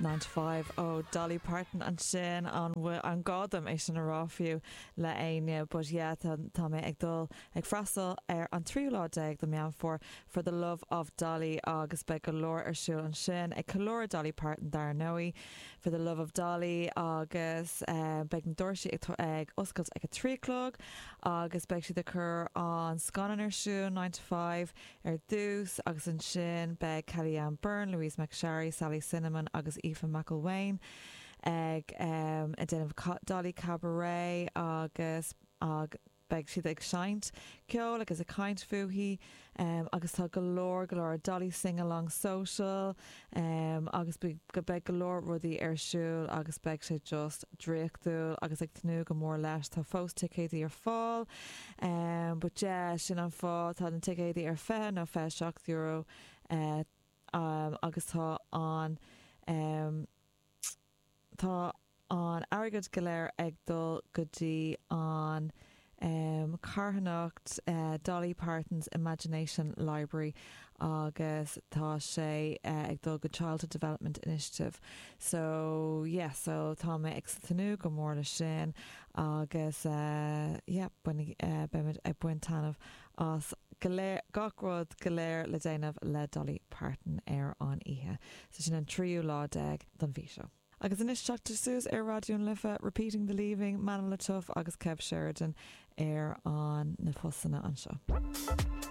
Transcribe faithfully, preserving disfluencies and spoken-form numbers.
Nine to Five ó Dolly Parton ansin an an gá dom é sin a rá fiú le éinne, but yeah, tá tá mé ag dul ag freastal ar an tríú lá déag de Meán Fómhair for the love of Dolly agus beidh go leor ar siúl ansin ag ceiliúradh Dolly Parton dar ndóigh for the love of Dolly agus uh, beidh na doirse ag ag oscailt ag a trí chlog agus beidh siad ag cur an scannán ar siúl nine to five ar dtús agus ansin beidh Kellyanne Byrne, Louise McSharry, Sally Cinnamon agus Aoife McElwain ag um, ag déanamh Dolly Cabaret agus ag beidh siad ag seinnt ceol agus ag caint fúithi um, agus tá go leor go leor Dolly sing along social um, agus go beidh go leor rudaí ar siúl agus beidh sé just draíochtúil agus ag tnúth go mór leis tá fós ticéidí ar fáil um, but yeah, sin an fáth tá na ticéidí ar fiche nó fiche seacht euro uh, um, agus tá an um, tá an airgead go léir ag dul go dtí an um, carthanacht uh, Dolly Parton's Imagination Library agus tá sé uh, ag dul go Childhood Development Initiative. So yeah, so tá mé ag tnúth go mór le sin agus uh, yeah, uh, beimid ag baint taitneamh as gach rud go léir le déanamh le Dolly Parton ar an oíche. So sin an tríú lá déag den mhí seo. Agus anois teacht suas ar Raidió na Life, Repeating the Leaving, Manuel Tuff agus Kev Sheridan ar an na postanna anseo.